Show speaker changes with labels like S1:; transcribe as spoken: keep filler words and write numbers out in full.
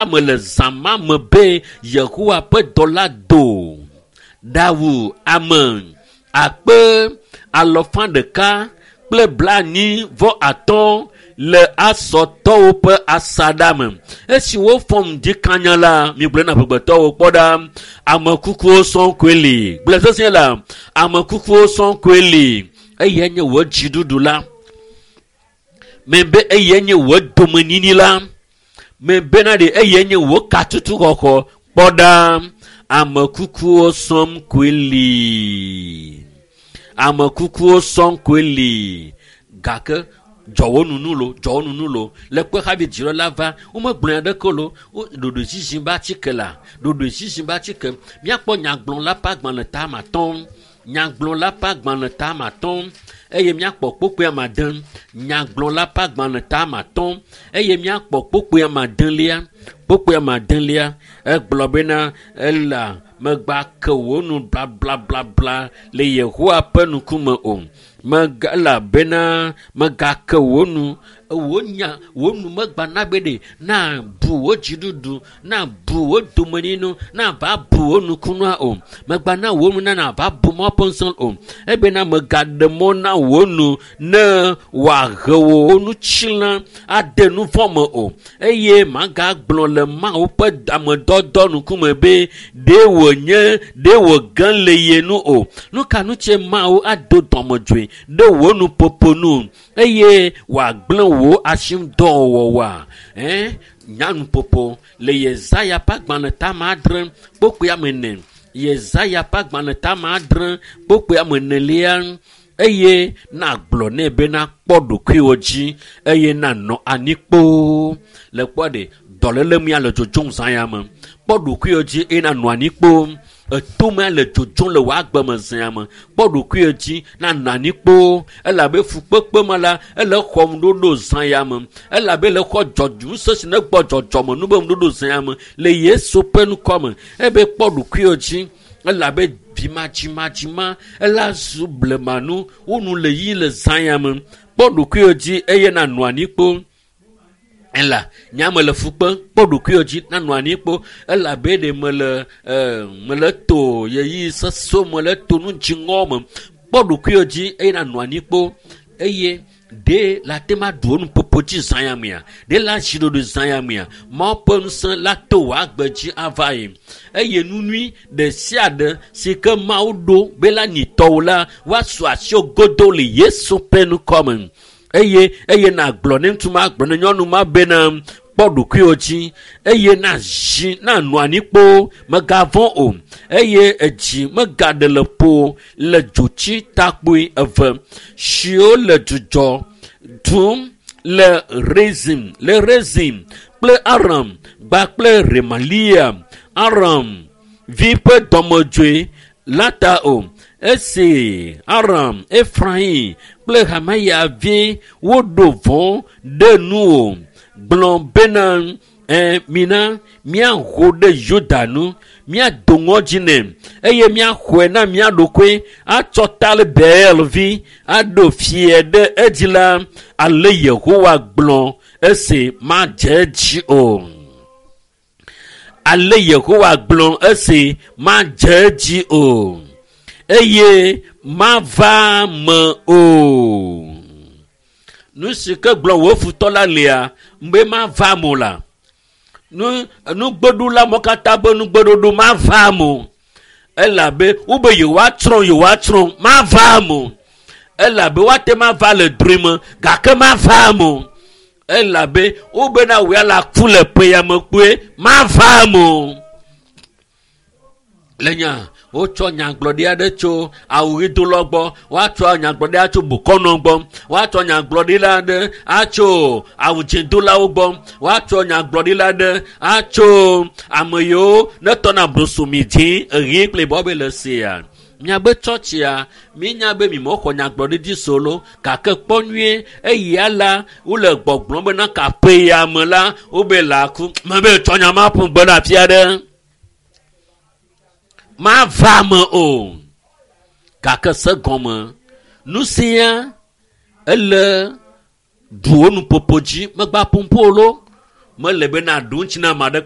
S1: me le zã ma me be Yehowa ƒe dɔla do ɖawu ame akpe alɔfa ɖeka kple blaenyi vɔ atɔ̃ le Asɔtɔwo ƒe asaɖa me. Esi wofɔ ŋdi kanya la, migblɔ na amegbetɔwo kpɔ ɖa, ame kukuwo sɔŋ koe li. Gblɔ sesĩe la, ame kukuwo sɔŋ koe li. Eyae nye wò dziɖuɖu la. Mebe eyae nye wò domenyinyi la. Mebena ɖe eyae nye wò katutu xɔxɔ. Kpɔ ɖa, ame kukuwo sɔŋ koe li. Ame kukuwo sɔŋ koe li. Gake dzɔwo nunu lo, dzɔwo nunu lo. Le kpe hafi dziɖɔ la va, womegblɔ aɖeke lo. Ɖoɖoezizi be atike la, ɖoɖoezizi be atike. Míakpɔ nyagblɔla ƒe agbalẽ ta ame atɔ̃. Nyagblɔla ƒe agbalẽ ta ame atɔ̃ eye míakpɔ kpokpoe ame ade. Nyagblɔla ƒe agbalẽ ta ame atɔ̃ eye míakpɔ kpokpoe ame adelia. Kpokpoe ame adelia egblɔ bena ela megba ke wò nu blablablabla le Yehowa ƒe ŋkume o. Mega elabena megake wò nu wò nya wò nu megba na be ɖe na bu wò dziɖuɖu na bu wò domenyinu na va bu wò nukunua o. Megba na wò nu na na va bu mɔ ƒe ŋusẽ o. Ebena megaɖe mɔ na wò nu ne wòahe wò nutsila ade nu vɔ̃ me o. Eye magagblɔ le Mawu ƒe amedɔdɔ ŋkume be ɖe wònye ɖe wòge le ye nu o. Nu ka ŋutie Mawu ado dɔmedzoe ɖe wò nuƒoƒo nu eye wòagblẽ wò asimdɔwɔwɔa? Ɛ nyanuƒoƒo le Yesaya ƒe agbalẽ ta ame adre kpokpoe ame ene. Yesaya ƒe agbalẽ ta ame adre kpokpoe ame enelia eye nagblɔ nɛ bena kpɔ ɖokuiwò dzi eye nanɔ anyi kpoo. Le kpɔ ɖe dɔléle mía le dzodzom zã ya me. Kpɔ ɖokuiwò dzi eye nanɔ anyi kpoo. Etome le dzodzom le wò agbe me zã me. Kpɔ ɖokuiwò dzi nanɔ anyi kpoo. Elabe fukpekpe me la, ele xɔm ɖoɖo zã ya me. Elabe le xɔ dzɔdzɔ ŋusẽ si ne gbɔ dzɔdzɔme nu be ŋuɖoɖo zã ya me le Yesu ƒe ŋkɔ me. Ebe kpɔ ɖokuiwò dzi elabe vimadzimadzima ela zu blemanu wo nu le yi le zã ya me. Kpɔ ɖokuiwò dzi eye nanɔ anyi kpoo. Ela nyame le fu kpem kpɔ ɖokuiwò dzi nanɔ anyi kpo elabe ɖe mele e mele to yeyi sesẽwo me le to nu dziŋɔ me. Kpɔ ɖokuiwò dzi eye nanɔ anyi kpo eye ɖe la te ma ɖu wò nuƒoƒo dzi zã ya mea? Ɖe la zi ɖoɖoe zã ya mea? Mawu ƒe ŋusẽ la to wò agbe dzi ava yi. Eye nu nyui ɖe sia ɖe si ke Mawu ɖo be la nyi tɔwò la, woasu asiwò godoo le Yesu ƒe ŋkɔ me. Eye eye nagblɔ ne ŋutsu ma gblɔ ne nyɔnu ma bena kpɔ ɖokuiwò dzi eye nazi nanɔ anyi kpoo megavɔ̃ o eye edzi megaɖe le ƒo le dzotsi takpoe eve siwo le dzudzɔ dum le Rezin le Rezin kple Aram kpakple Remalia Aram vi ƒe dɔmedzoe la ta o. Esi Aram, Efraim kple Hamaya vi woɖo vɔ̃ ɖe nuwò gblɔ bena ɛ mina míaho ɖe Yuda nu, míado ŋɔdzi nɛ eye míaxɔe na mía ɖokui atsɔ Talibel vi aɖo fia ɖe edzi la, ale Yehowa gblɔ esi madze edzi o. Ale Yehowa gblɔ esi madze edzi o eye mava me o. Nu si ke gblɔ wò futɔ la lia, be mava me o la. Nu nugbeɖula mɔ katã be nugbeɖoɖo mava me o. Elabe wobe yewoatsrɔ̃ yewoatsrɔ̃ mava me o. Elabe woate ma va le drɔ̃e me gake mava me o. Elabe wobena wò ya la ku le ƒe ya me kpoe mava me o. Le nya wotsɔ nyagblɔɖi aɖe tso awuɣidolawo gbɔ, woatsɔ nyagblɔɖi atso bokɔnɔ gbɔ, woatsɔ nyagblɔɖi la aɖe atso awudzẽdolawo gbɔ, woatsɔ nyagblɔɖi la aɖe atso ame yiwo ne tɔna brosomi dzĩ eɣi kple yibɔ be le sia. Miabe tsɔtsia, míenya be mimexɔ nyagblɔɖi dzi solo gake kpɔ nyuie eya la wole gbɔgblɔm bena kaƒe ya me la wobe la ku mebe tsɔ nya ma ƒu gbe ɖe afi aɖe. Mava me o. Gake se gɔme nu sia ele ɖu wò nuƒoƒo dzi megba ƒoƒo lo mele be na ɖu ŋuti na ame aɖeke